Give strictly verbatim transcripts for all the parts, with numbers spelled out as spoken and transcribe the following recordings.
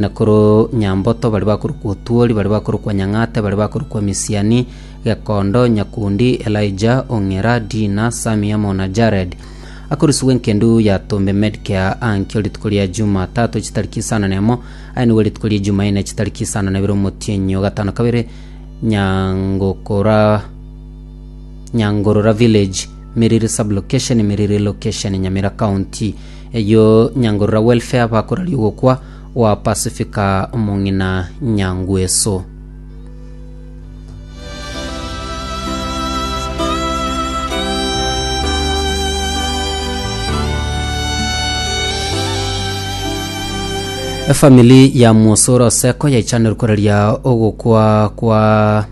Nakuru Nyamboto bari bakorokwa Otuori, bari bakorokwa Nyang'ate, bari bakorokwa Misiani, Gekondo, Nyakundi, Elijah, Ong'era, Dina, Sami amo na Jared. Akorusigwa enkendu ya Tombe Medcare ankio rituko ria Jumatatu chitariki isano na emo, aye nigo rituko ria Jumanne chitariki isano na ibere omotienyi gatano kabere Nyangokora Nyangorora Village, Miriri Sub-location, Miriri Location, Nyamira County. Eyo Nyangorora Welfare bakoraria ogokwa wa Pacifica omong'ina Nyangweso. Efamili ya Mwosoro Oseko yaichanire koraria ogokwa kwa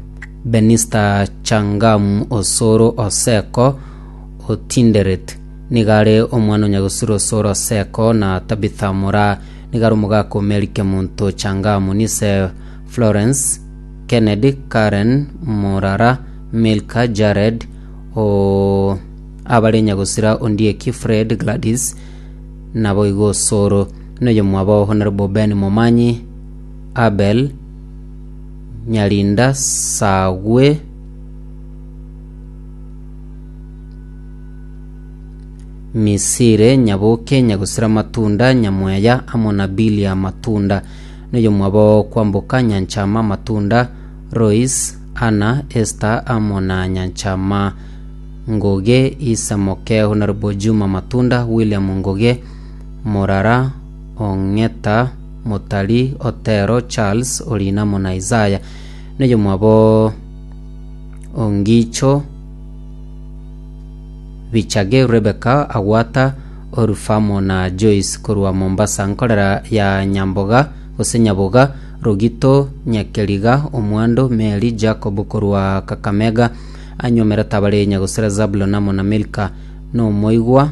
Benista Changamu Osoro Oseko Otinderet. Nigare omwana onyagosiro Osoro Oseko na Tabitha Mura, nigare omogaka Mary Kemunto Changamu, nise Florence Kennedy, Karen Murara, Milka Jared o abare nyagosira Ondieki Fred Gladys naboigo Osoro noyo mwabo Honorable Ben Momanyi, Abel Nyarinda Sagwe Misire Nyaboke Nyagosira Matunda Nyamweya amo na Bilia Matunda noyo mwabo Kwamboka Nyanchama Matunda Royce Anna Esther amo na Nyanchama Ngoge Isa Moke Honorable Juma Matunda William Ngoge Morara Ong'eta Motari Otero Charles Orina amo na Isaya noyo mwabo Ongicho Bichage Rebecca Agwata Orufamo na Joyce korwa Mombasa nkorera ya Nyamboga gose Nyaboga Rogito Nyakeriga Omwando Mary Jacob korwa Kakamega anyomera tabare nyagosera Zabulon amo na Milka nomoigwa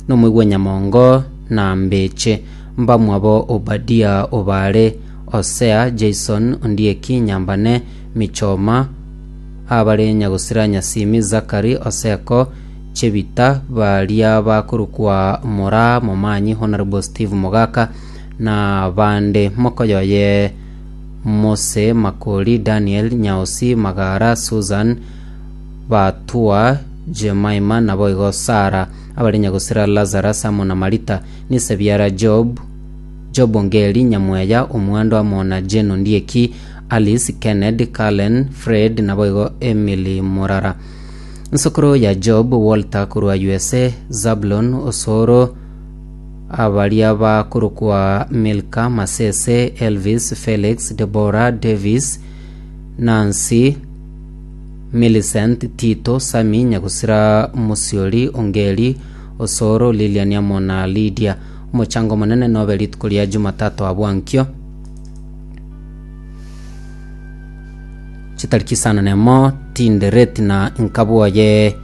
nomoigwa Nyamongo na Mbeche mbamwabo Obadia Obare Osea Jason Ondieki Nyambane Michoma abare nyagosira Nyasimi Zakari Oseko Chebita baria bakorokwa Mora Momanyi Honorable Steve Mogaka na bande mokoyoye Mose Makori Daniel Nyaosi Magara Susan Batua Jemaima naboigo Sara abare nyagosira Lazarus amo na Marita nisebiara Job Job Ongeri Nyamweya Omwando amo na Jane Ondieki Alice Kennedy Cullen Fred naboigo Emily Murara. Nsokoro ya Job Walter korwa U S A Zablon Osoro abaria bakorokwa Milka Masese Elvis Felix Deborah Davis Nancy Millicent Tito Sami Nyagusira Musioli Ongeri Osoro Lilian amo na Lydia. Omochango monene nobe rituko ria Jumatatu abwankio chitariki isano nemo Tinderet na nkabwoye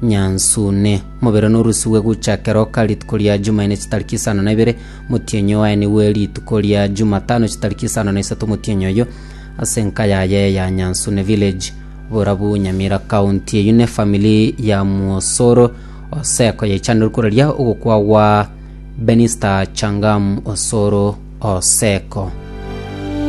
Nyansune mobere norusiwe guchakero rituko ria Jumanne chitariki isano na ibere motienyo waye niwe rituko ria Jumatano chitariki isano na isato motienyo oyo ase enka yaye ya Nyansune village Borabu Nyamira County. Eyu ne family ya Mwosoro Oseko yaichanire koraria ogokwa gwa Benista Changam Osoro Oseko.